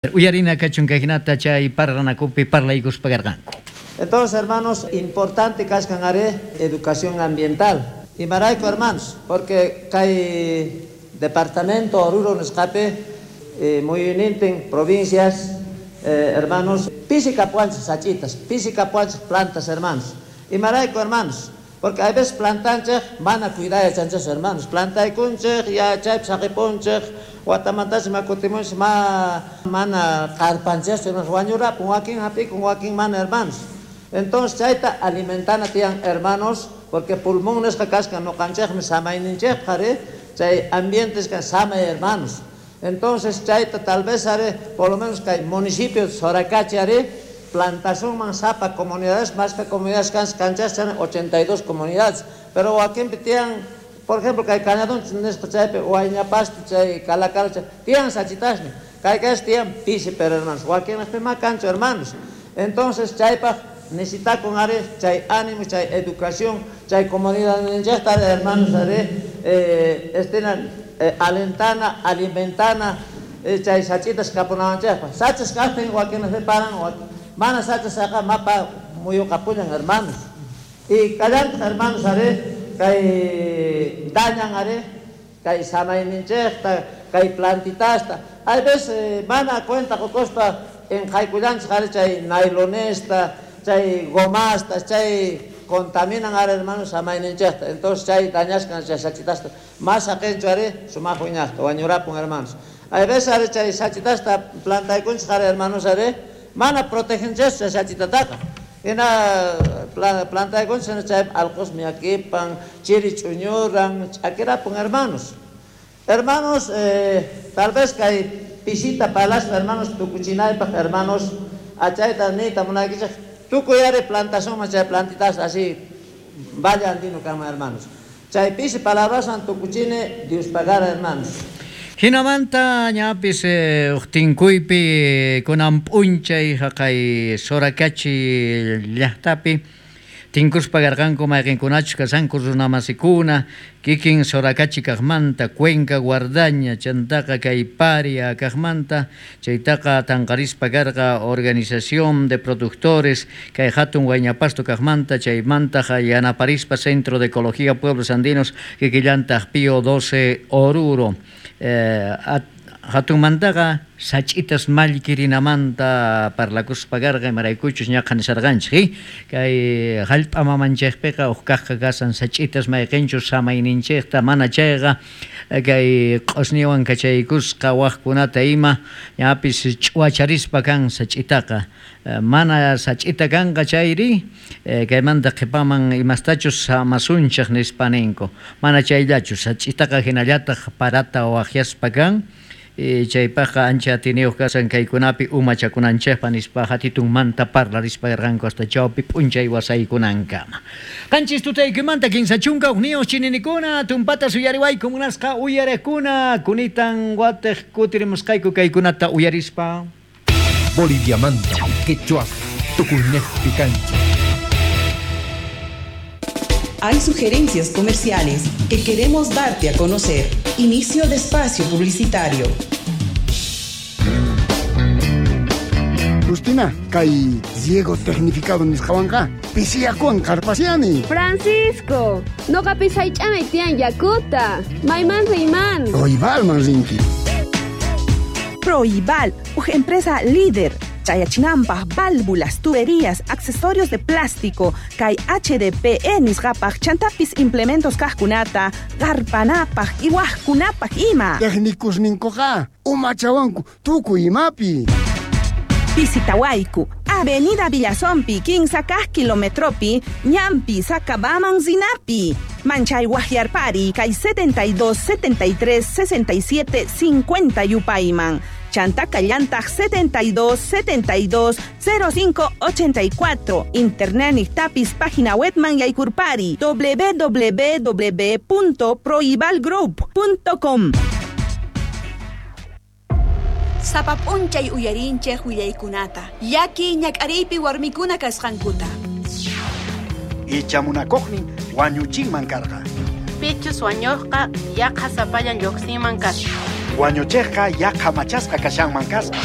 Uyarina kachun kayhinata chay parlanakupi parlaykuspa karqanku. Entonces, hermanos, importante kaskan are educación ambiental. Imarayku, hermanos, porque kay departamento Oruro nisqapi muyuynintin provincias, hermanos, pisi kapuwanchis sachitas, pisi kapuwanchis plantas, hermanos. Imarayku, hermanos, porque hay veces plantanchej mana cuidar yachanchis, hermanos. Plantaykunchej, ya chaypi saqipunchej, watamantacha ma kutimunchis, ma mana qarpanchis, hermanos, wañurapun, wakin hap'ikun, wakin mana, hermanos. Entonces chayta alimentana tiyan, hermanos, porque pulmón nisqa kaskan noqanchejmi samayninchejpaq, ari, chay ambientes kan samay, hermanos. Entonces chayta tal vez, ari, por lo menos kay municipio de Soracachi, ari, plantasunman sapa comunidades, más que comunidades kan kanchas chan 82 comunidades, pero wakinpi tiyan, por ejemplo, kay Cañadón nisqa chaypi, Huayñapasto chay Calacara chay, tiyan sachitasni, kay kas tiyan pisi, pero hermanos, wakinpi ma kanchu, hermanos. Entonces chaypaj necesitakun, ari, chay ánimo, chay educación, chay comunidad ninchejta, ari, hermanos, ari, estina alentana, alimentana chay sachitas kapunawanchejpaj. Sachas kajtin wakinpi paran, mana sachas saqa mapa muyuqapullan, hermanos. Y kallantaq, hermanos, ari, kay dañan, ari, kay samayninchejta, kay plantitasta. Hay veces mana cuenta qokuspa enqaykullanchej, ari, chay nailonesta, chay gomasta, chay contaminan, ari, hermanos, samayninchejta. Entonces chay dañaskan chay sachitasta. Más saqenchu, ari, sumaq wiñaqta, wañurapun, hermanos. Hay veces, ari, chay sachitasta plantaykunchej, ari, hermanos, ari, mana protegenchej chay sachitataqa. Hina plantaykunchej, chay alqos miyakipan, chiri ch'uñuran, ch'akirapun, hermanos. Hermanos, tal vez kay pisita palaspa, hermanos, tukuchinaypaj, hermanos, achayta niyta munaykichej, tukuy ari plantasunman chay plantitas así, vaya andino kama, hermanos. Chay pisi palabraswan tukuchini, Dios pagara, hermanos. Hinamanta ñapis uqtinkuypi kunan p'unchay haqay Soracachi llaqtapi tinkuspa karqanku mayqinkunachus kashanku runamasikuna kikin Soracachi kaqmanta, Cuenca Guardaña, chantaqa kay Paria kaqmanta, chaytaqa tanqarispa karqa Organización de Productores kay hatun Huayñapasto kaqmanta, chaymantaqa yanaparispa Centro de Ecología Pueblos Andinos kikillantaq Pío 12 Oruro. Hatunmantaqa sach'itas mallkirinamanta parlakuspa karqa, imaraykuchus ñaqa nisarqanchik, Kay hallp'a mamanchikpiqa uj kaqqa kasan sach'itas mayqinchus samayninchikta, mana chayqa kay q'usñiwan kachaykusqa waqkunata ima ñapis ch'uwacharispa kan sach'itaqa. Mana sach'ita kanqa chayri kaymanta qhipaman imastachus samasunchik nispa ninku. Mana chayllachu, sach'itaqa hinallataq parata waqyaspa kan. Chaypaqqa ancha atiniyuq kasan kaykunapi umachakunanchikpa nispa hatitunmanta parlarispa karqanku hasta chawpi p'unchay wasaykunankama. Qanchis tutaykimanta kinsa chunka hukniyuq chininikuna tumpata suyariwayku munasqa uyarekuna kunitan watiq kutirimusqayku kaykunata uyarispa. Boliviamanta, quechua, tukuynejpi kancha. Hay sugerencias comerciales que queremos darte a conocer. Inicio de espacio publicitario. Justina, kay riego tecnificado nisqawanqa pisiyakuwan qarpasiani. Francisco, noqapis haych'anay tiyan yakuta. Mayman riyman. Proibalman rinki. Proibal, uj empresa líder. Chayachinampa, válvulas, tuberías, accesorios de plástico, kay HDPE nisqapaj, chantapis implementos kajkunata, garpanapaj, iwajkunapaj ima. Técnicos ninkoqa, umachawanku, tukuy imapi. Visitawayku, Avenida Villazompi, quince kaj kilometropi, Ñampi, Sacabaman, Zinapi. Manchay Guajiarpari, kay 72, 73, 67, 50 Yupayman. Chantaka llantaq 72, 72, cero cinco, ochenta y cuatro. Internet niktapis página webman yaykurpari, doble u doble u doble u punto proibalgroup punto com. Sapa p'unchay uyarinchej willaykunata, llaki ñak'ariypi warmikuna kasqankuta. Icha munakuqnin wañuchinman karqa. Pichus wañuqqa yaqa sapallan lluqsinman kasqa. Wañuchejqa yaqa machasqa kashanman kasqa.